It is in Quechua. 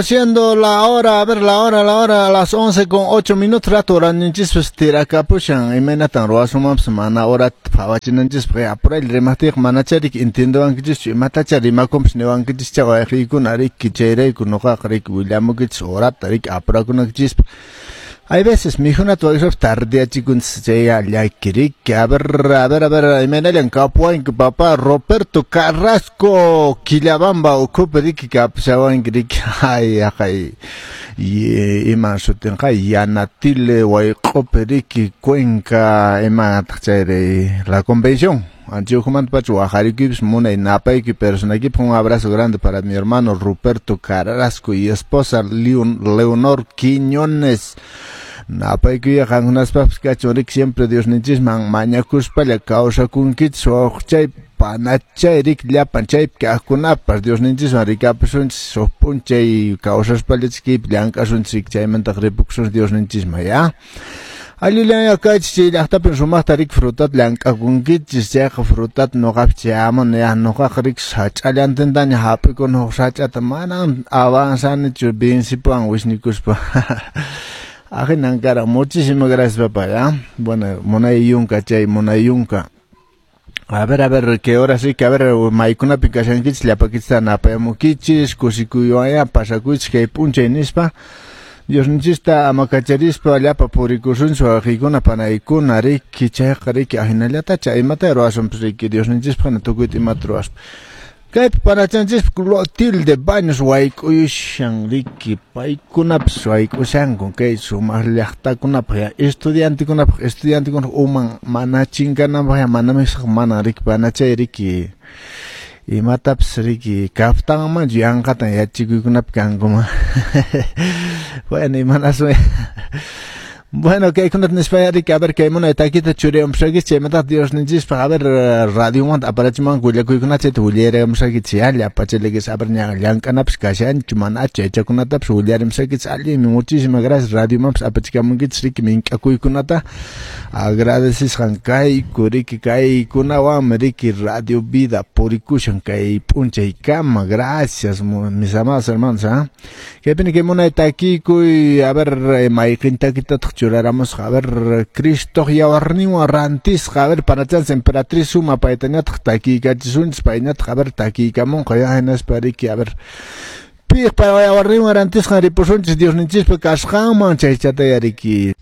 Siendo la hora, a ver, la hora, a las 11:08, rato horaninchispis tirakapushan, imaynatan ruwasunmanpas mana horata phawachinanchispaq, apuraylla rimaqtiyqa manachá riki entiendewankichischu, imatachá rimakunpas niwankichis wayqiykuna riki, chayrayku nuqaqa riki willamukichis horata riki apurakunaykichispaq. Hay veces mikhunata wayk'uspapas tardeachikunchis, chayqa llaki riki. A ver, a ver, a ver, imaynallan kapuwanki papá Roberto Carrasco, Quillabamba ukhupi riki kapushawanki riki, ay haqay iman sutinqa Yanatile wayq'upi riki Cuenca imataq chayri La Convención. Anchiujumantapacha wajarikuypis munay napaykuy personaykipaq. Un abrazo grande para mi hermano Ruperto Carrasco y esposa Leonor Quiñones. Napaykuya qankunaspaqpas kachun riki, siempre Diosninchisman mañakuspalla kawsakunkichis wawqichay panachay riki llapan chaypi kaqkunapas Diosninchisman rikapusunchis huk p'unchay kawsaspalla kaypi llank'asunchis riki, chaymantaqa ripukusunchis Diosninchisman ya. Allillan kaychis chay llaqtapin sumaqta riki frutata llank'akunkichis, chayqa frutata nuqapi chayamuni ya, nuqaqa riki sach'allantintaña hap'ikuni huk sach'ata, manan avanzanichu vencipuwan wisnikuspa. Ahinan karan. Muchísimas gracias, papá, ya. Bueno, munay yunka chay, munay yunka. A ver, qué hora sí, que a ver, maykunapi kashankichis, llapakichista napayamukichis, kusikuywan pasakuychis kay p'unchay nispa. Diosninchista amakacharispa llapa purikusunchis wawqiykuna panaykuna riki, chayqa riki ahinallatacha imata ruwasunpas riki Diosninchispaq tukuyta imata ruwaspa. Kaypi panachanchispa Clotilde Baños wayk'uyushan riki, paykunapas wayk'ushanku kay sumaq llaqtakunapaq ya estudiantekunapaq, estudiantekunaq uman mana chinkananpaq ya mana mana riki panachay riki imatapas riki kaptanmanchu yanqatan yachikuykunapi kankuman. Bueno, imanasun. Bueno, kaykunata nispa riki, a ver, kay munay takita churiyamusaykichis, chaymantaqa Diosninchispaq, a ver, radiomanta aparachimanku willakuykunata, chayta willarimusaykichis ya, llapachaykichis, a ver, ña llank'anapas kashanchu manachu yachakunatapas willarimusaykichis. Allinmi, muchísimas gracias, radiomanpas apachikamunkichis riki mink'akuykunata, agradecesqan kayku riki, kaykunawanmi riki Radio Vida purikushan kay p'unchaykama. Gracias, mis amados hermanos, ¿ah? Kaypini kay munay takikuy, a ver, mayqin takitataq churaramusqa, a ver, Cristoq yawarninwan rantisqa, a ver, panachanchis Emperatriz Suma paytañataq takiykachisunchis, payñataq, a ver, takiykamunqa ya, hinaspa riki, a ver, piqpa yawarninwan rantisqan ripusunchis Diosninchispa kasqanman, chaychataya riki.